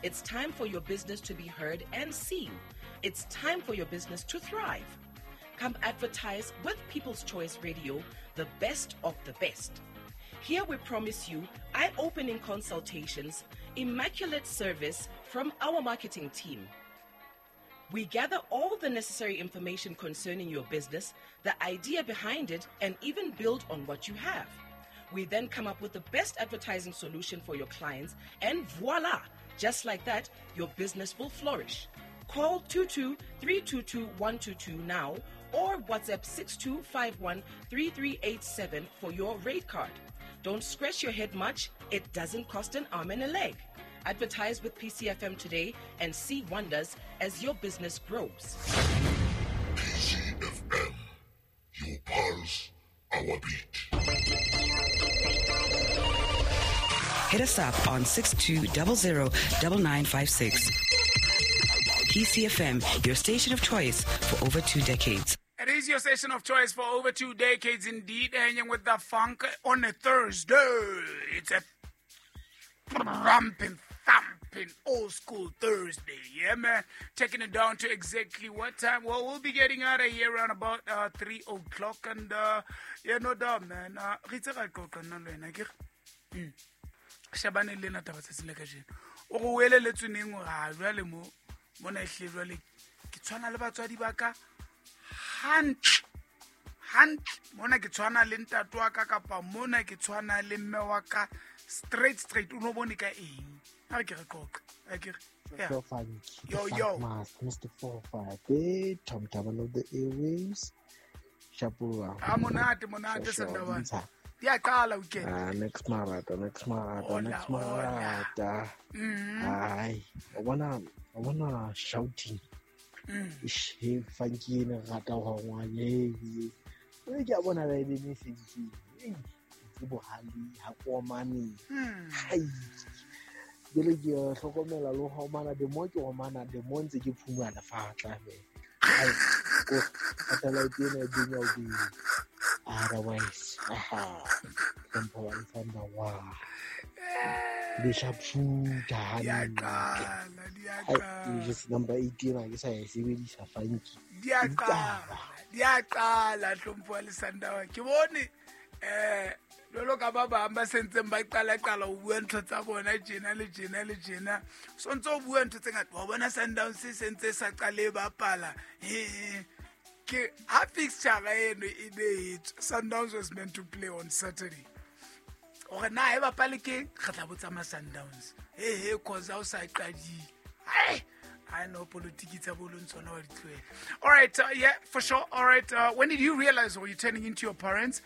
It's time for your business to be heard and seen. It's time for your business to thrive. Come advertise with People's Choice Radio, the best of the best. Here we promise you eye opening consultations, immaculate service from our marketing team. We gather all the necessary information concerning your business, the idea behind it, and even build on what you have. We then come up with the best advertising solution for your clients, and voila! Just like that, your business will flourish. Call 22 322 122 now or WhatsApp 6251 3387 for your rate card. Don't scratch your head much, it doesn't cost an arm and a leg. Advertise with PCFM today and see wonders as your business grows. PCFM, your pulse, our beat. Hit us up on 6200 9956. PCFM, your station of choice for over 2 decades. It is your station of choice for over 2 decades indeed, hanging with the funk on a Thursday. It's a ramping, thumping, old school Thursday. Yeah, man. Taking it down to exactly what time? Well, we'll be getting out of here around about 3 o'clock. And, yeah, no doubt, man. Re itse ra qoqa nna le wena, akere? Shabane le nna taba tsatsing la kajeno. O re o elelletswe neng hore ha jwale mo, mona ehlile jwale ke tshwana le batswadi ba ka hantle, hantle. Mona ke tshwana le ntate wa ka kapa mona ke tshwana le mme wa ka straight, straight. O no bone ka eng? Ha re ke re qoqe, ha ke re. Yeah. Yo, funky, Yo, the yo. Funk Master, Mister 45, eh, Tom Taban of the Airwaves. Shapura. Ah, monate, monate, Sure, sure. Sandawana. Ntsha. Di a qala weekend. Ah, next marata, next marata, Hola, next hola. marata. Ai, I wanna shouting. Ish, hey, funky ena re rata ho ngwane. Hey, ke a bona ba e be message. Hey, ke bohale ha ko omane. Hai. Jwale ke a hlokomela le ho omana, the more ke omana, the more ntse ke phumana fatla me. Hai, ko satellite ena e benya o benya. Otherwise, aha, hlompho wa Alexander wa. Le sharpshooter Di a hantle. qala, di a Hai, qala. just number 8 ena ke sa e sebedisa funky. Di a Ditaba. qala, di a qala, hlompho wa Alexander wa. Ke bone, jwalo ka ba bang ba sentseng ba qala-qala ho bua ntho tsa bona tjena le tjena le tjena. So ntso o bua ntho tse ngata. Wa bona Sundowns se sentse sa qale e bapala. Ke ha fixture eno e behetswe, Sundowns was meant to play on Saturday. Hore na e bapale ke, re tla botsa ma Sundowns. He, he, cause ha o sa qadile. Hai, I know politiki tsa bo leng tsona wa di tlohela. All right, yeah, for sure. All right, when did you realize were you turning into your parents?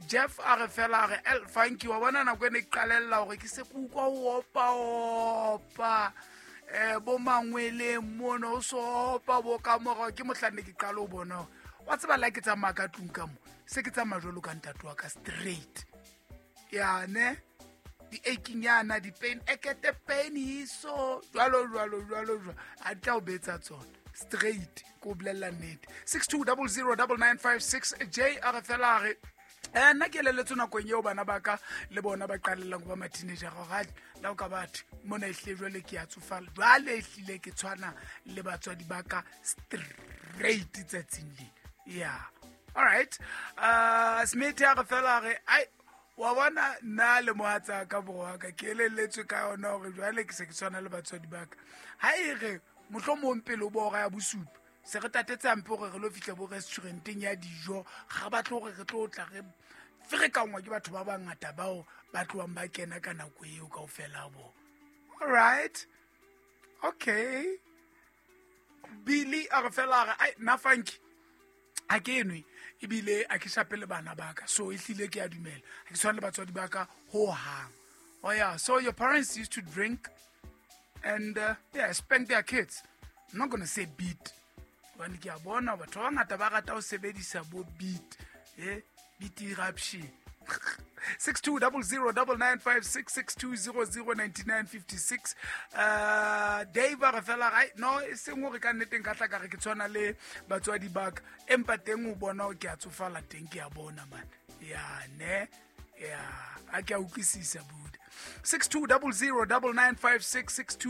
Jeff a re fela a re, El, thank you. Wa bona nako e ne ke qalella hore ke se ke utlwa ho opa-opa. Bo mangweleng mono, o so opa bo ka morao. Ke mohlang ne ke qala ho bona hore, wa tseba la ke tsamaya ka tlung ka mo, se ke tsamaya jwalo ka ntate wa ka straight. Ya, ne? Di-aching yana, di-pain, ekete pain hiso, jwalo, jwalo, jwalo, jwalo. A tla o betsa tsona. Straight, ke o bolella nnete. Six two double zero double nine five six, J a re fela a re, nna ke elelletswe nakong eo bana ba ka le bona ba qalellang ho ba ma-teenager hore ha la o ka batho, mona ehlile jwale ke a tsofala. Jwale ehlile ke tshwana le batswadi ba ka straight tsatsing lena. Yeah. All right. Smith a re fela a re, ai, wa bona nna le mohatsa ka borwa ka ke elelletswe ka yona hore jwale ke se ke tshwana le batswadi ba ka. Ha e re mohlomong pele o bo hora ya bosupa, se re tatetse hampe hore re lo fihla bo restauranteng ya dijo, ga batle hore re tlo tla re ferekanngwa ke batho ba bangata bao ba tlohang ba kena ka nako eo kaofela bo. All right. Okay. Billy a re fela a re, ai, nna funky ha ke enwe ebile ha ke shape le bana ba ka, so ehlile ke a dumela ha ke tshwane le batswadi ba ka ho hang. Oh yeah, so your parents used to drink and yeah, spank their kids. I'm not going to say beat hobane ke a bona batho ba bangata ba rata ho sebedisa bo beat, beat eruption. Six two double zero double nine five six, six two zero zero ninety nine fifty six. Dave a re fela, ai, no, e seng hore ka nnete nka tla ka re ke tshwana le batswadi ba ka, empa teng o bona hore ke a tsofala teng, ke a bona man. Ya, ne? Ya, ha ke a utlwisisa, buda. Six two double zero double nine five six, six two